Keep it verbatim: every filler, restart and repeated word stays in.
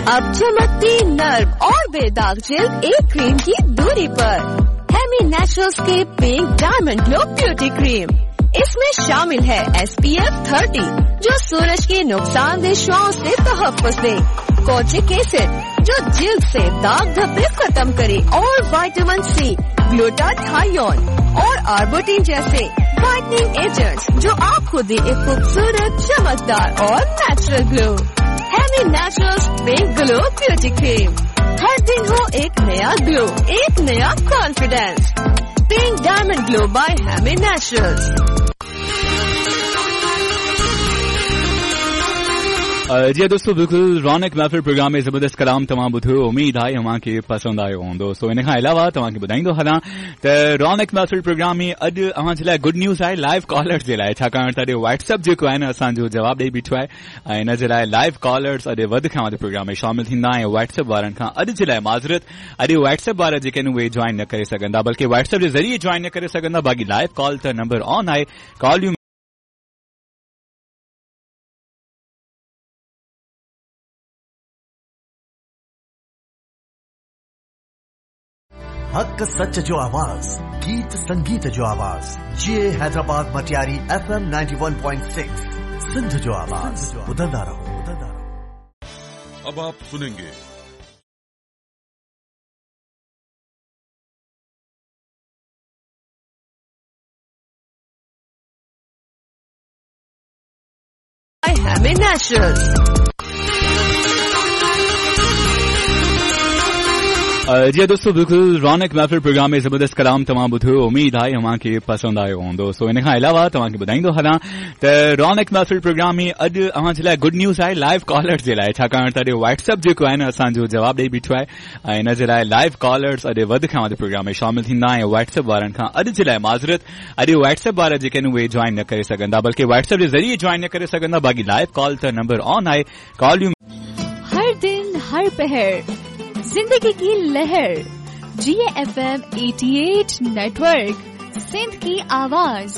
अब चमकती नर्म और बेदाग जिल्द एक क्रीम की दूरी पर। हेमी नेचुरल्स के pink diamond glow beauty cream, इसमें शामिल है एस पी एफ थर्टी जो सूरज के नुकसानदेह शुआओं से तहफ़्फ़ुज़ दे, कोजिक एसिड जो जिल्द से दाग धब्बे खत्म करे और विटामिन सी, ग्लूटाथायोन और आर्बोटिन जैसे वाइटनिंग एजेंट्स जो आपको दे एक खूबसूरत, चमकदार और natural glow. Hemi Naturals pink glow beauty cream, हर दिन हो एक नया ग्लो, एक नया confidence. Pink diamond glow by Hemi Naturals. जी दोस्तों, बिल्कुल रौनक महफ़िल प्रोग्राम में ज़बरदस्त कलाम तव्हां ॿुधो, उम्मीद आहे तव्हांखे पसंदि आयो हूंदो। सो इन खां अलावा तव्हांखे ॿुधाईंदो हलां त रौनक महफ़िल प्रोग्राम में अॼु अव्हां जे लाइ गुड न्यूज़ आहे लाइव कॉलर्स जे लाइ, छाकाणि त अॼु व्हाट्सएप जेको आहे न असांजो जवाबु ॾेई बीठो आहे ऐं इन जे लाइ लाइव कॉलर्स अॼु वधि खां वधि प्रोग्राम में शामिल थींदा ऐं व्हाट्सएप वारनि खां अॼु जे लाइ माज़रत, अॼु व्हाट्सएप वारा जेके आहिनि उहे जॉइन न करे सघंदा, बल्कि व्हाट्सएप जे ज़रिए जॉइन न करे सघंदा। बाक़ी लाइव कॉल त नंबर ऑन आहे, कॉल हक सच जो आवाज, गीत संगीत जो आवाज, जे Hyderabad Matiari F M ninety one point six Sindh जो आवाज। ॿुधंदा रहो, ॿुधंदा रहो। अब आप सुनेंगे Hemi Naturals. जी दोस्तों, बिल्कुल रौनक महफ़िल प्रोग्राम में ज़बरदस्त कलाम तव्हां ॿुधो, उम्मीद आहे तव्हांखे पसंदि आयो हूंदो। सो इन खां अलावा तव्हांखे ॿुधाईंदो हलां त रौनक महफ़िल प्रोग्राम में अॼु अव्हां जे लाइ गुड न्यूज़ आहे लाइव कॉलर्स जे लाइ, छाकाणि त अॼु व्हाट्सएप जेको आहे न असांजो जवाबु ॾेई बीठो आहे ऐं इन जे लाइ लाइव कॉलर्स अॼु वधि खां वधि प्रोग्राम में शामिल थींदा ऐं व्हाट्सएप वारनि खां अॼु जे लाइ माज़रत, अॼु व्हाट्सएप वारा जेके आहिनि उहे जॉइन न करे सघंदा, बल्कि व्हाट्सएप जे ज़रिए जॉइन न करे सघंदा। बाक़ी लाइव कॉल त नंबर ऑन आहे, कॉल। हर दिन हर पहर जिंदगी की लहर, जी एफ एम अठासी नेटवर्क, सिंध की आवाज।